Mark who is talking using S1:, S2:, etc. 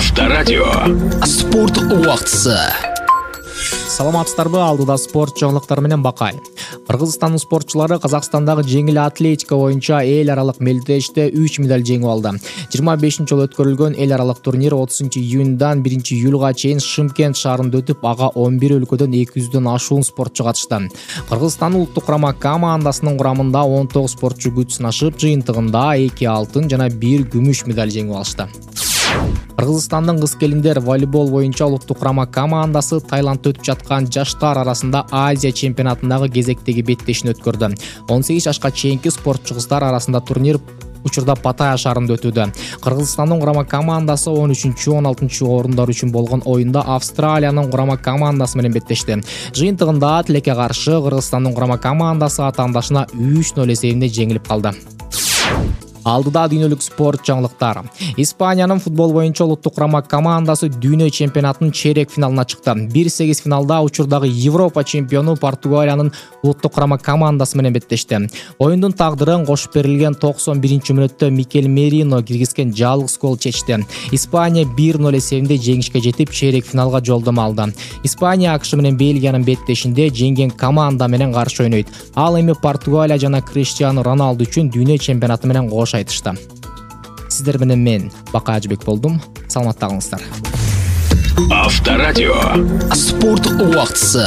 S1: Авторадио. Спорт убактысы.
S2: Саламатсыздарбы, алдыда спорт жаңылыктары менен Бакай. Кыргызстандын спортчулары Казакстандагы жеңил атлетика боюнча эл аралык мелдеште 3 медаль жеңип алды. 25-жолу өткөрүлгөн эл аралык турнир 30-июндан 1-июлга чейин Шымкент шаарында өтүп, ага 11 өлкөдөн 200дөн ашуун спортчу катышты. Кыргызстандын улуттук курама командасынын курамында 19 спортчу күч сынашып, жыйынтыгында 2 алтын жана 1 күмүш медаль жеңип алышты. Кыргызстандын кыз-келиндер волейбол боюнча улуттук курама командасы Таиландда өтүп жаткан жаштар арасында Азия чемпионатындагы кезектеги беттешин өткөрдү. 18 жашка чейинки спортчу кыздар арасында турнир учурда Паттайя шаарында өтүүдө. Кыргызстандын курама командасы 13-16 орундар үчүн болгон оюнда Австралиянын курама командасы менен беттешти. Жыйынтыгында тилекке каршы Кыргызстандын курама командасы атаандашына 3-0 эсебинде жеңилип калды. Алдыда дүйнөлүк спорт жаңылыктары. Испаниянын футбол боюнча улуттук курама командасы дүйнө чемпионатынын чейрек финалына чыкты. 1-8 финалда учурдагы Европа чемпиону Португалиянын улуттук курама командасы менен беттешти. Оюндун тагдырын кошуп берилген 91-мүнөттө Микель Мерино киргизген жалгыз гол чечти. Испания 1-0 эсебинде жеңишке жетип, чейрек финалга жолдомо алды. Испания АКШ менен Бельгиянын беттешинде жеңген команда менен каршы ойнойт. Ал эми Португалия жана Криштиану Роналду үчүн дүйнө чемпионаты менен кош айтышты. Сиздер менен мен Бакай Ажыбек болдум. Саламатта калыңыздар.
S1: Авторадио. Спорт убактысы.